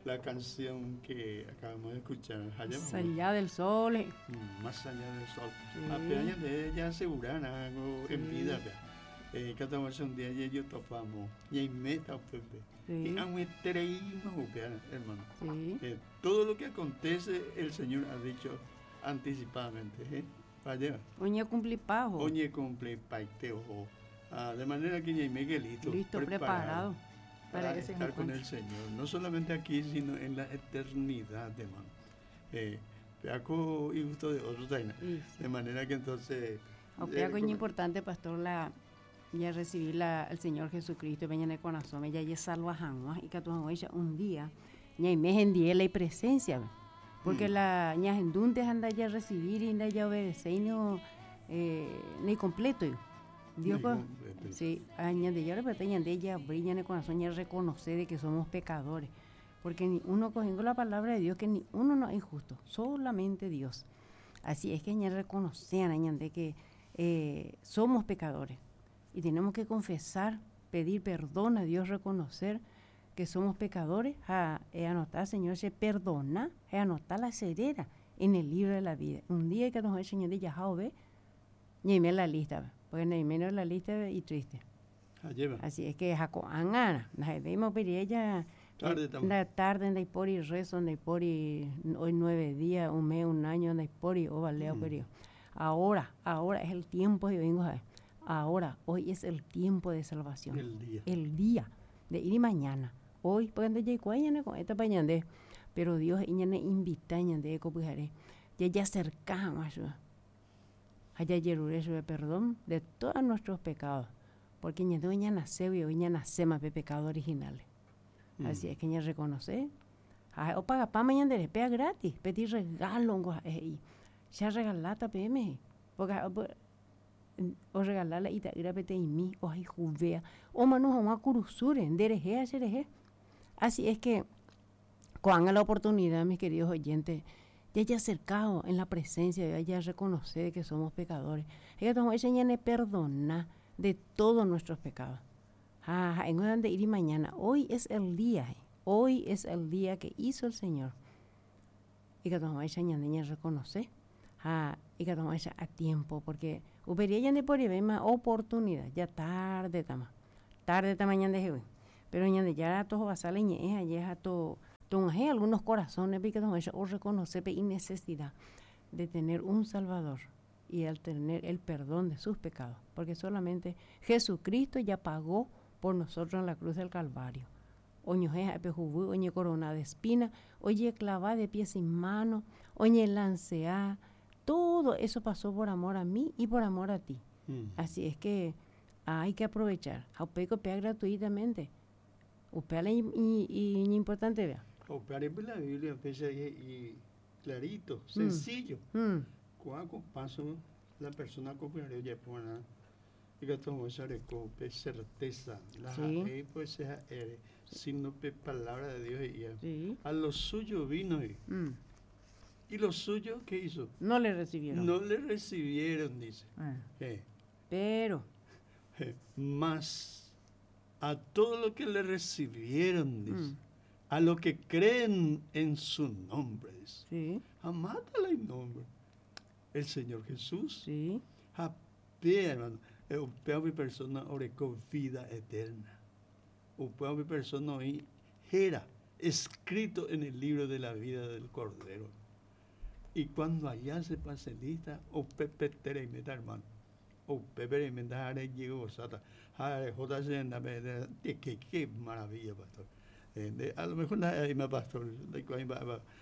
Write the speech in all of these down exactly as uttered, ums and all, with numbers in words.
La canción que acabamos de escuchar. Más allá del sol. Mm, más allá del sol. Sí. De ella asegurar algo sí. En vida. Eh, cada un día y yo topamos. Y ahí meta pepe. Y hermano. Sí. Eh, todo lo que acontece, el Señor ha dicho anticipadamente. ¿Eh? Vaya. Oñe cumple pajo. Oñe cumple paiteo. Ah, de manera que ya me listo. Listo, preparado. preparado para, para estar con el Señor, no solamente aquí, sino en la eternidad, hermano. Eh, y gusto de otro sí. De manera que entonces... O eh, es importante, pastor, la ya recibir la, al Señor Jesucristo, venga en el corazón, ya ya salva y que un día, ya me en la presencia, porque mm. la ña endunte anda ya recibir y anda ya obedecer y no eh, ni completo. Dios, pues, sí, añade ya repete, ya brilla en el corazón y reconoce de que somos pecadores, porque ni uno cogiendo la palabra de Dios, que ni uno no es injusto, solamente Dios. Así es que ya reconocen, añade que eh, somos pecadores y tenemos que confesar, pedir perdón a Dios, reconocer que somos pecadores, a, a anotar, Señor, se perdona, a anotar la cerera en el libro de la vida. Un día que nos Señor de Yahweh, ni me la lista, porque ni menos la lista y triste. Ah, lleva. Así es que Jacoangana, nos vemos pero ella tarde la tarde en por y rezo, en por y hoy nueve días, un mes, un año, en por y o valeo, mm. pero ahora, ahora es el tiempo de vengo a ver. Ahora, hoy es el tiempo de salvación. El día. El día de ir y mañana. Hoy, porque ande llegó con esta pañande, pero Dios iñane invita ñande copujaré. Ya ya acercamos allá yerure perdón de todos nuestros pecados, porque ñande ña nace y hoy ña nace más de pecado originales. Mm. Así es que ña reconoce. O paga pa mañana de pega gratis, pedir regalo y ya regalata P M, porque o regalarla y ta ira pete y mi o hay juvea o manu a curusure dereje a. Así es que cuando la oportunidad, mis queridos oyentes, ya haya acercado en la presencia, ya haya reconocer que somos pecadores. Ella nos perdona de todos nuestros pecados. Ah, en donde ir y mañana. Hoy es el día, hoy es el día que hizo el Señor. Y que nos niña reconoce. Ah, y que nos a tiempo, porque upería ya de por ahí más oportunidad, ya tarde tama. Tarde ta mañana de hoy. Pero ñande ya todo basale ñe ya to tonje algunos corazones porque nos o reconoce y necesidad de tener un Salvador y al tener el perdón de sus pecados, porque solamente Jesucristo ya pagó por nosotros en la cruz del Calvario. Oñoje apejubu, oñe corona de espina, oye clava de pies y manos, oñe lancea, todo eso pasó por amor a mí y por amor a ti. Mm. Así es que hay que aprovechar. Jaupeco pea gratuitamente. Upeale y, y, y importante vea. Upeale la Biblia empieza y, y clarito, mm. sencillo. Mm. Cuando paso la persona cooperaría ya pone y que todo esa recope certeza la sí. Pues esa sino pe palabra de Dios y sí. A lo suyo vino y, mm. y lo suyo ¿qué hizo? No le recibieron. No le recibieron, dice. Ah. Eh. Pero eh, más a todo lo que le recibieron, dice, mm. a lo que creen en su nombre, dice. Sí. Amátala en nombre. El Señor Jesús. Sí. A pie, hermano. O mi persona orecó vida eterna. O mi persona era escrito en el libro de la vida del Cordero. Y cuando allá se pase lista, o pepe tere y meta, hermano. O pepe y meta, llegó sata. Qué, qué maravilla, pastor. Eh, a lo mejor hay más pastor,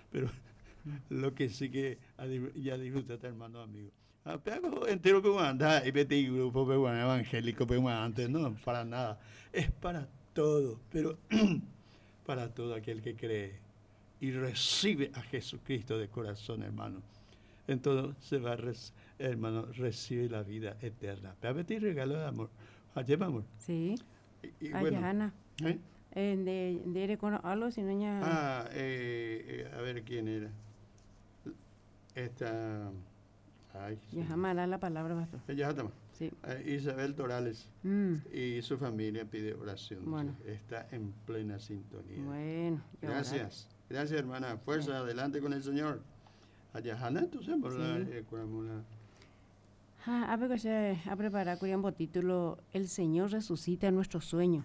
pero lo que sí que ya disfruta, hermano amigo. Entero que anda y vete grupo evangélico antes, no, para nada. Es para todo, pero para todo aquel que cree y recibe a Jesucristo de corazón, hermano. Entonces se va, hermano, recibe la vida eterna. Pero regalo de amor. Allá vamos. Sí. Y, y bueno, Ana. ¿Eh? Eh, de, de algo, si no ya... Ah, eh, eh, a ver quién era. Esta. Ay, ya jamás la palabra, pastor. Ya está. Sí. Eh, Isabel Torales Mm, y su familia pide oración. Bueno. Está en plena sintonía. Bueno. Y orar. Gracias. Gracias, hermana. Fuerza, adelante con el Señor. Allá, Jana, entonces, por la, Sí. eh, curamos la- Ah, a ver, se a preparar un título El Señor resucita nuestro sueño.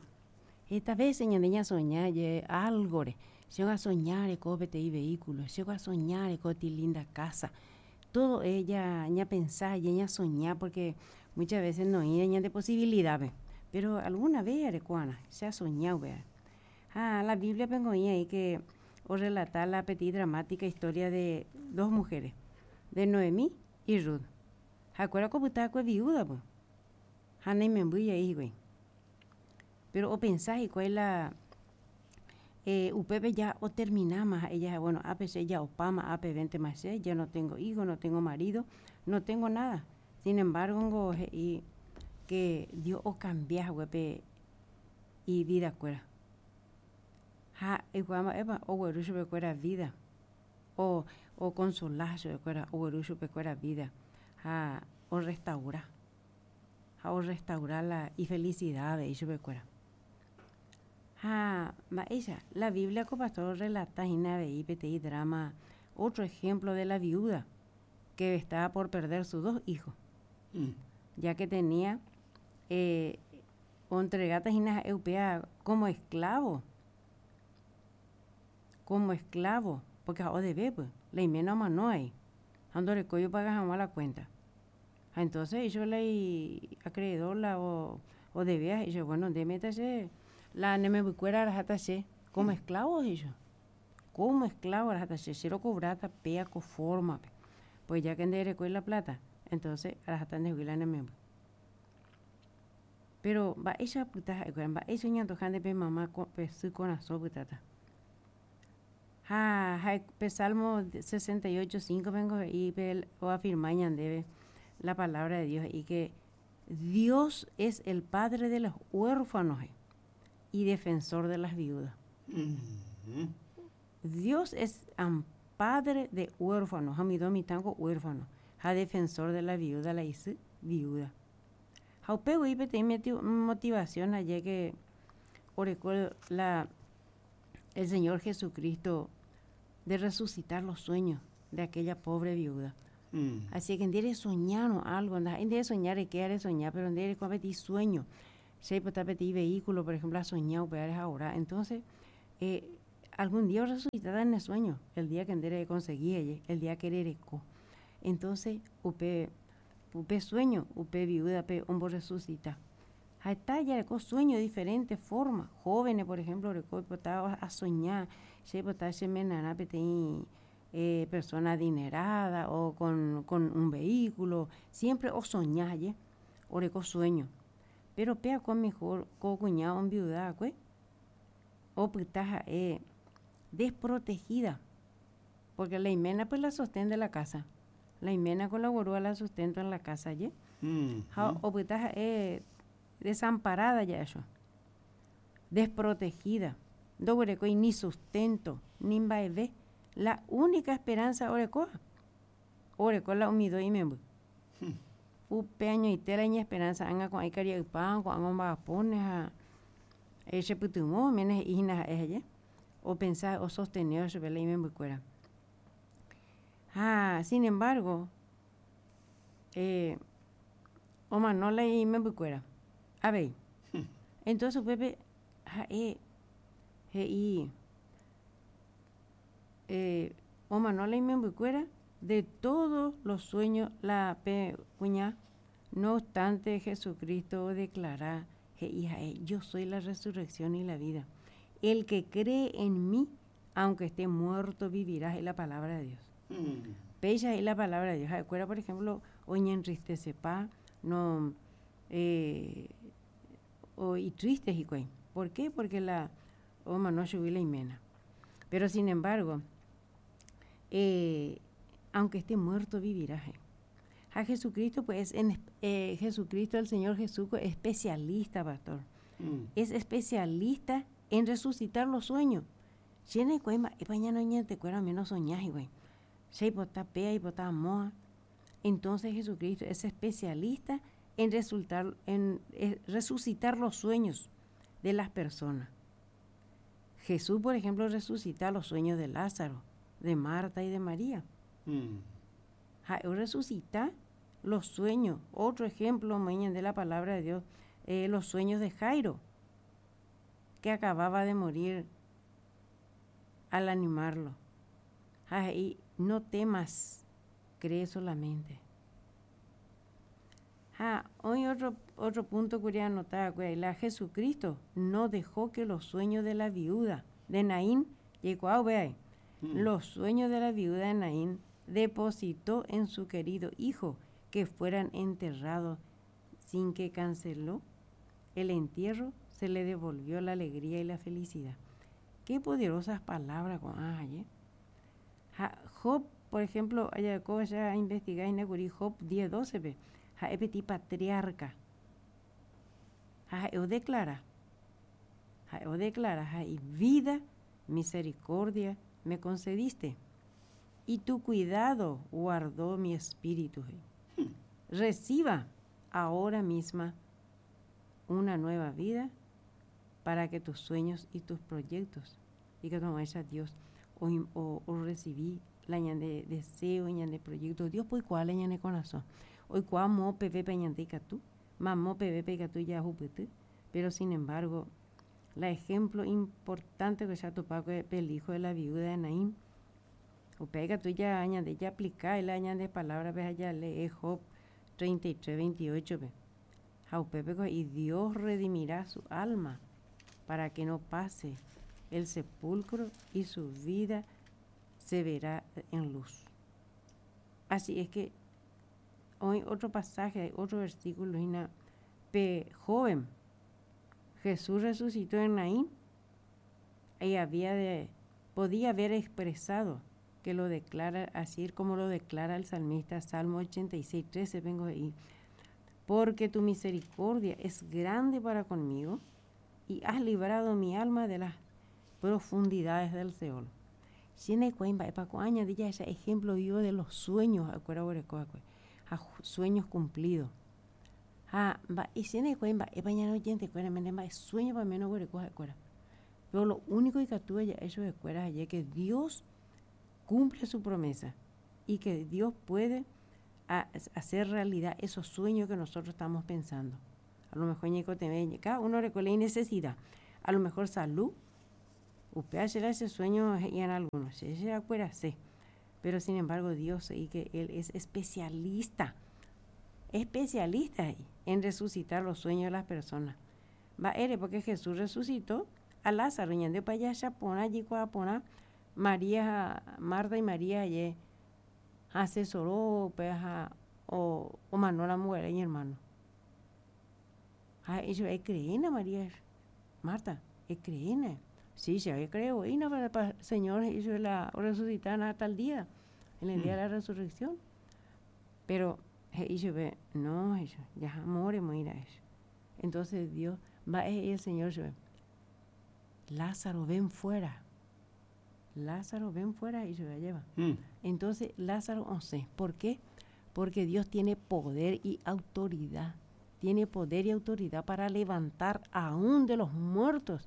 Esta vez, señor, niña soñar, ye, algo, re. Se va a soñar, cópete y vehículo, se va a soñar, coti linda casa. Todo ella, ña pensar, y ella soñar, porque muchas veces no hay ña de posibilidades. Pero alguna vez, arecuana, se ha soñado, vea. Ah, la Biblia vengo ahí que o relata la petit dramática historia de dos mujeres, de Noemí y Ruth. Acuerda como estaba con viuda, pues. Hana y membuya ahí, güey. Pero o pensás y cuál es la eh, upepe ya o terminama ella, bueno, A P C ya opama, A P veinte más C, ya no tengo hijo, no tengo marido, no tengo nada. Sin embargo, ngo, je, y que Dios o cambia, güey, pe, y vida cuera. Ja, igual, eva, o güey, pe cuera vida. O, o consolar, cuera, o güey, pe cuera vida. Ja, o restaurar. Ja, o restaurar la y felicidad de ellos, pe cuera. Ja, ma ella, la Biblia co pastor relata y de I P T I drama, otro ejemplo de la viuda que estaba por perder sus dos hijos, Mm. ya que tenía, eh, entregata hina eupea como esclavo, como esclavo, porque ahora debe, pues, la imena mano ahí, ando le coyo paga jamás la cuenta. Ah, entonces yo le acreedor la o, o debía, y yo, bueno, de métase la nemebucuera la jata se, como esclavo, y yo, como esclavo la jata se, cero cobrata, pea con forma, pe. Pues ya que endere con la plata, entonces a la jata de la nemebu. Pero va ella puta, va eso ñando jande pe mamá con pe su corazón putata. Ja, ja, pe Salmo sesenta y ocho, cinco vengo y pe o afirma ñandebe la palabra de Dios y que Dios es el padre de los huérfanos y defensor de las viudas. Mm-hmm. Dios es am padre de huérfanos, amido mi tango huérfano, ja defensor de la viuda, la hice viuda. Jaupego y te metió motivación allí que orecó la, el Señor Jesucristo de resucitar los sueños de aquella pobre viuda. Mm. Así que en día soñar algo, en día soñar, que era soñar, pero en día de sueño. Si hay pedir vehículo, por ejemplo, ha soñado, pero es ahora. Entonces, eh, algún día resucitará en el sueño, el día que en conseguí, el día que herecó. Entonces, upe, upe sueño, upe viuda, pe hombre resucita. Ahí está, ya con sueño de diferentes formas. Jóvenes, por ejemplo, estaba a soñar, se botaba se menana, pe tení, eh, persona adinerada o con, con un vehículo, siempre o soñar, ye, o reco sueño. Pero pea con mejor, con cuñado, un viuda, cue, o putaja, eh, desprotegida, porque la imena pues la sostén de la casa, la imena con la gorúa la sustento en la casa, ye. Mm, Ja, mm. o putaja, eh, desamparada ya eso, desprotegida, no huereco y ni sustento, ni baile. La única esperanza orecoa, orecoa la humido y membu. Hmm. Upe año y tela y esperanza anga con ay caria pan, con anga vapones a ese putumo, menes hijas ella, o pensar o sostener sobre la y membu cuera. Ah, sin embargo, eh, o manola y membu cuera. A ver, Hmm. entonces Pepe, ja, eh, je, y, eh, o manola y membu cuera, de todos los sueños, la pe, cuña, no obstante, Jesucristo declara, je, hija, eh, yo soy la resurrección y la vida. El que cree en mí, aunque esté muerto, vivirá, es la palabra de Dios. Mm. Bella es la palabra de Dios. Acuerda, por ejemplo, oña entristece pa, no, eh, o, y triste, y cuey. ¿Por qué? Porque la oma no subí la imena. Pero sin embargo, eh, aunque esté muerto, vivirá. Eh. A Jesucristo, pues, en, eh, Jesucristo, el Señor Jesús, es especialista, pastor. Mm. Es especialista en resucitar los sueños. Llena de cuema, y mañana no te cuera menos soñás, güey. Se bota pea y bota moa. Entonces Jesucristo es especialista en, resultar, en resucitar los sueños de las personas. Jesús, por ejemplo, resucita los sueños de Lázaro, de Marta y de María. Mm. Resucita los sueños. Otro ejemplo, mañana de la palabra de Dios, eh, los sueños de Jairo, que acababa de morir al animarlo. Y no temas, cree solamente. Hoy otro, otro punto que quería anotar, la Jesucristo no dejó que los sueños de la viuda de Naín, llegó a ver, mm. los sueños de la viuda de Naín depositó en su querido hijo que fueran enterrados sin que canceló el entierro, se le devolvió la alegría y la felicidad. Qué poderosas palabras con ¿eh? Job, por ejemplo, allá ya investigar en Job diez doce, ha'e petit patriarca. Ha'e declara. Ha'e declara, y vida, misericordia me concediste, y tu cuidado guardó mi espíritu. Reciba ahora misma una nueva vida para que tus sueños y tus proyectos, y que tomes a Dios, o, o, o recibí la de deseo, de proyecto, Dios pues cuál de corazón. Hoy cuamo pepe peñanteca tú, mamó pepe tú ya jupete, pero sin embargo, la ejemplo importante que se ha topado es el hijo de la viuda de Naín. O pega tú ya añade, ya aplica el añade palabra, ves allá lee Job treinta y tres, veintiocho, ve. Y Dios redimirá su alma para que no pase el sepulcro y su vida se verá en luz. Así es que hoy otro pasaje, otro versículo, ina, pe joven, Jesús resucitó en Naín y había de, podía haber expresado que lo declara así como lo declara el salmista, Salmo ochenta y seis, trece, vengo ahí. Porque tu misericordia es grande para conmigo y has librado mi alma de las profundidades del Seol. Tiene cuenta, epa, cuaña, diga ese ejemplo vivo de los sueños, acuerda, sueños cumplidos. Ah, va, y tiene cuenta, epa, ya no oyente, cuera, me nema, es sueño para menos, güere, coja, cuera. Pero lo único que tuve ya eso de cuera es que Dios cumple su promesa y que Dios puede a, hacer realidad esos sueños que nosotros estamos pensando. A lo mejor ñeco te ve, cada uno recuerda y necesidad. A lo mejor salud, usted hace ese sueño y en algunos, se, se acuerda, sí. Pero sin embargo Dios, y que Él es especialista, especialista ahí, en resucitar los sueños de las personas. Va, ere, porque Jesús resucitó a Lázaro, y andó para allá, Chapona, allí, Cuapona, María, Marta y María, allí, asesoró, pues, a, o, o mandó a la mujer y hermano. Ah, eso es creena, María, Marta, es creena. Sí, se había creído, y no, pero pa, Señor, hizo la resucitar hasta el día, en el día de la resurrección. Pero, he dicho, ve, no, eso, ya muere, muere eso. Entonces Dios va, y el Señor se ve, Lázaro, ven fuera. Lázaro, ven fuera, y se la lleva. Mm. Entonces Lázaro, no sé, ¿por qué? Porque Dios tiene poder y autoridad. Tiene poder y autoridad para levantar aún de los muertos,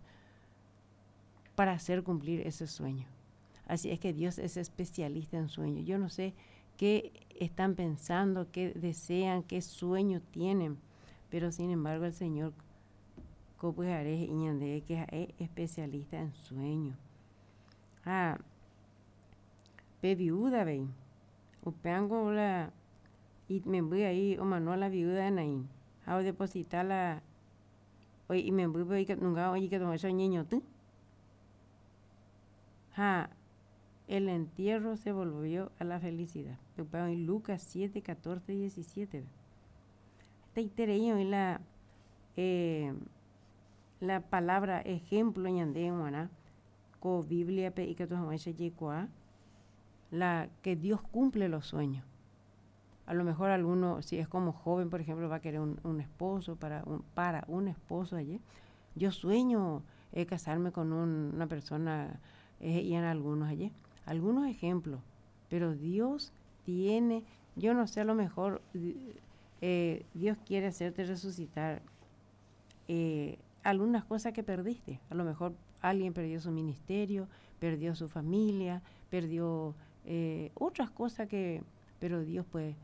para hacer cumplir ese sueño. Así es que Dios es especialista en sueños. Yo no sé qué están pensando, qué desean, qué sueño tienen, pero sin embargo el Señor que es especialista en sueños. Ah, pe viuda, ve. Upeango la, y me voy ahí, o mano la viuda de Naín. A depositar la, oye, y me voy que nunca oye que tomó ese niño tú. Ja, el entierro se volvió a la felicidad. En Lucas siete, catorce, diecisiete. Esta y la, eh, la palabra ejemplo ñande en Guaná, co Biblia pe y que tu jamás se llegó la que Dios cumple los sueños. A lo mejor alguno, si es como joven, por ejemplo, va a querer un, un esposo, para un, para un esposo allí. Yo sueño eh, casarme con un, una persona, eh, y en algunos allí. Algunos ejemplos, pero Dios tiene, yo no sé, a lo mejor eh, Dios quiere hacerte resucitar eh, algunas cosas que perdiste. A lo mejor alguien perdió su ministerio, perdió su familia, perdió eh, otras cosas que... Pero Dios pues,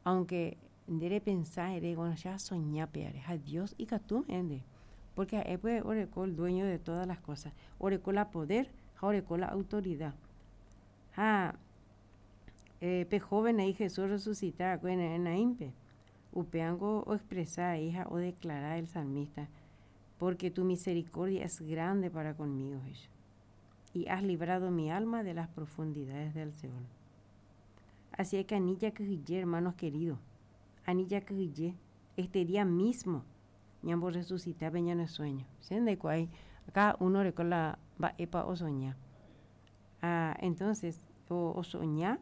aunque debe pensar, bueno, ya soñar, a Dios y que ende. Porque él pues orecó el dueño de todas las cosas. Orecó la poder, orecó la autoridad. Ha, eh, pe joven ahí Jesús resucita en Naimpe. Upeango o expresar, hija, o declarar el salmista, porque tu misericordia es grande para conmigo, Jesús, y has librado mi alma de las profundidades del Seol. Así es que anilla que hermanos queridos, anilla que este día mismo, ñambo resucitar peña en sueño. ¿Se cuál? Acá uno recuerda va epa o soñar. Ah, entonces, o, o soñar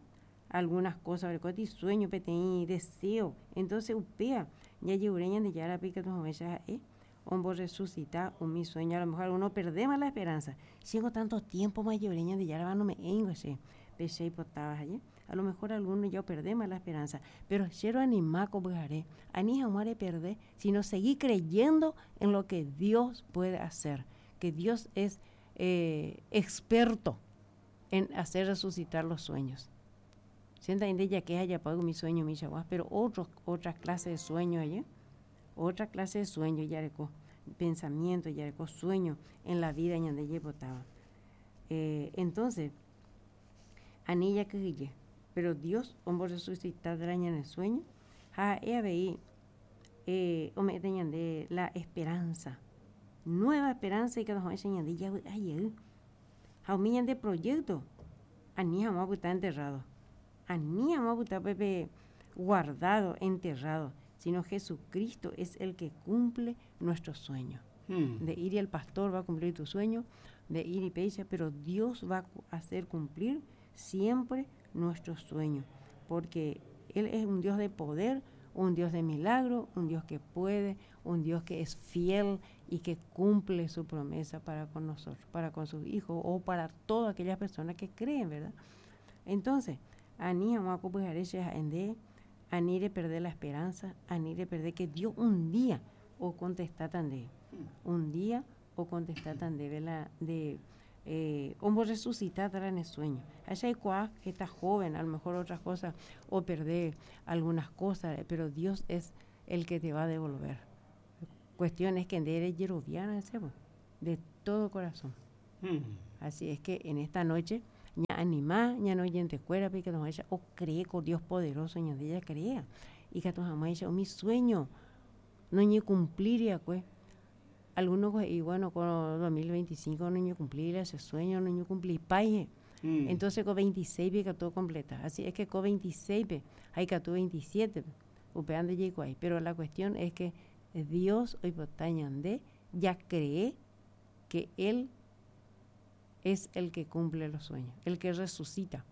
algunas cosas, recuerda y sueño, peteí, deseo. Entonces, upea, ya llegureñan de ya la pica tu eh, hombo resucitar o mi sueño, a lo mejor uno perdemos la esperanza. Sigo tanto tiempo más llegureñan de ya no me engo ese, peche y potabas allí. A lo mejor algunos ya perdemos la esperanza, pero quiero animar como haré, ani jamás perder, sino seguir creyendo en lo que Dios puede hacer, que Dios es eh, experto en hacer resucitar los sueños. Sienta ya que haya pago mi sueño, mi chaguás, pero otros, otra clase de sueño allá, otra clase de sueño, ya reco, pensamiento, ya reco, sueño en la vida ñande yepotaba. Eh, entonces, anilla que pero Dios, hombre resucitar en el sueño, ja, ea veí, eh, ome de la esperanza, nueva esperanza y que nos enseñan de ya, ay, ja, de proyecto, anía vamos a estar enterrado, anía vamos a estar pepe guardado, enterrado, sino Jesucristo es el que cumple nuestro sueño. Hmm. De ir y el pastor va a cumplir tu sueño, de ir y pecha, pero Dios va a hacer cumplir siempre nuestro sueño, porque Él es un Dios de poder, un Dios de milagro, un Dios que puede, un Dios que es fiel y que cumple su promesa para con nosotros, para con sus hijos o para todas aquellas personas que creen, ¿verdad? Entonces, ani ani de perder la esperanza, ani de perder que Dios un día o contesta tan de, un día o contesta tan de, ¿verdad? De eh, como resucitar en el sueño. Allá hay cuá que está joven, a lo mejor otras cosas, o perder algunas cosas, pero Dios es el que te va a devolver. Cuestión es que eres yeroviana, de todo corazón. Hmm. Así es que en esta noche, ña animá, ña no oyente cuera, que nos ella, o cree con Dios poderoso, ña de ella crea. Y que ella, o mi sueño, no ñe cumplir ya pues. Algunos, y bueno, con dos mil veinticinco no ñe cumplir ese sueño, no ñe cumplir paye. Mm. Entonces con veintiséis que todo completa. Así es que con veintiséis, hay que veintisiete, upean de llegó ahí. Pero la cuestión es que Dios hoy de ya cree que Él es el que cumple los sueños, el que resucita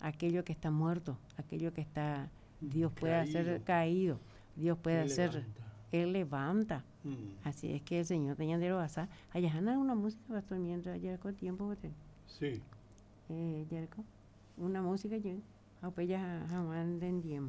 aquello que está muerto, aquello que está, Dios puede caído. Hacer caído, Dios puede él hacer, levanta. Él levanta. Mm. Así es que el Señor te añadió a allá una música, pastor, mientras ya con tiempo. Sí. Eh, Yerko, una música yo, ah, pues ya jamás entendí.